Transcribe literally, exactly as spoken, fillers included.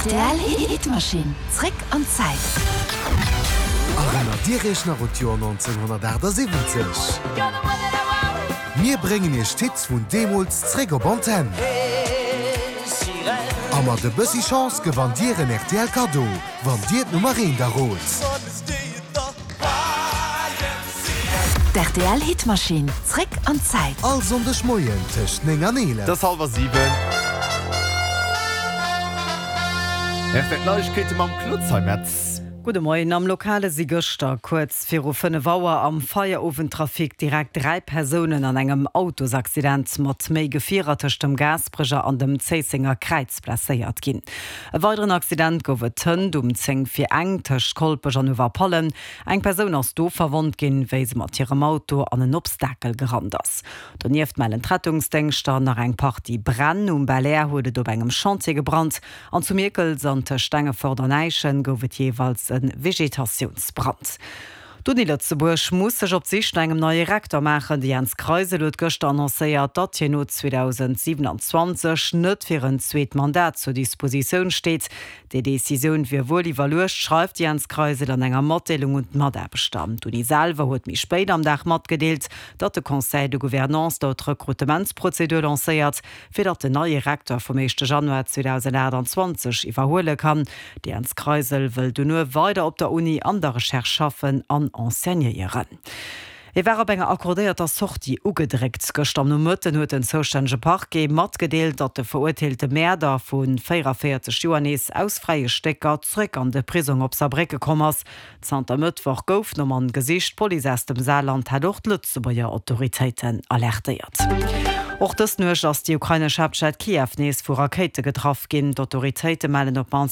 Rtl Hitmaschinn, zréck an d'Zäit. Erënnert Dir Iech nach un d'Joer nonzénghonnertaachtsiwwenzeg? Mir bréngen Iech d'Hits vun deemools zréck op Antenn. A mat e bëssi Chance gewannt Dir en R T L Kaddo, wann Dir d'Nummer eent errot. D'R T L Hitmaschinn, zréck an d'Zäit. All Sonndeg Moien tëscht néng an eelef. Et ass hallwer siwen. R T L Neiegkeete mam Claude Zeimetz. Gudde Moien. Am Lokale si gëschter kuerz viru fënnef Auer am Feierowendtrafic direkt dräi Persounen an engem Autosaccident mat méi Gefierer tëscht dem Gaasperecher an dem Zéissenger Kräiz blesséiert ginn. E weideren Accident gouf et hënt um zéng vir eng tëscht Kolpech an Uewerpallen. Eng Persoun ass do verwonnt ginn, wéi se mat hirem Auto an en Obstakel gerannt ass. Donieft mellen d'Rettungsdéngschter nach eng Partie Bränn. Um Belair huet et op engem Chantier gebrannt an zu Mierkels an tëscht Stengefort an Äischen gouf et jeeweils e Vegetatiounsbrand. D'Uni Lëtzebuerg muss sech op d'Sich no engem neie Rektor maachen. De Jens Kreisel huet gëschter annoncéiert, datt hien no zweedausendsiwenanzwanzeg net fir en zweet Mandat zur Dispositioun steet. Déi Decisioun wier wuel iwwerluecht, schreift de Jens Kreisel an enger Matdeelung un d'Mataarbechter. D'Uni selwer huet méi spéit am Dag matgedeelt, datt de Conseil de Gouvernance do d'Rekrutementsprozedur lancéiert, fir datt den neie Rektor vum éischte Januar zweedausendachtanzwanzeg iwwerhuele kann. De Jens Kreisel wëll dono weider op der Uni an der Recherche schaffen an enseignéieren. E war op enger accordéierter Sortie ugedréckt. Gëschter am Nomëtten huet den zoustännege Parquet matgedeelt, datt de verurteelte Mäerder vu véierundavéierzeg Joer nees aus fräie Stécker zréck an de Prisong op Saarbrécke komm ass. Zanter Mëttwoch gouf nom Mann gesicht. D'Police aus dem Saarland hat och d'Lëtzebuerger Autoritéiten alertéiert. Och dës Nuecht ass déi ukrainesch Haaptstad Kiew nees vu Rakéite getraff ginn. D'Autoritéite mellen op d'mannst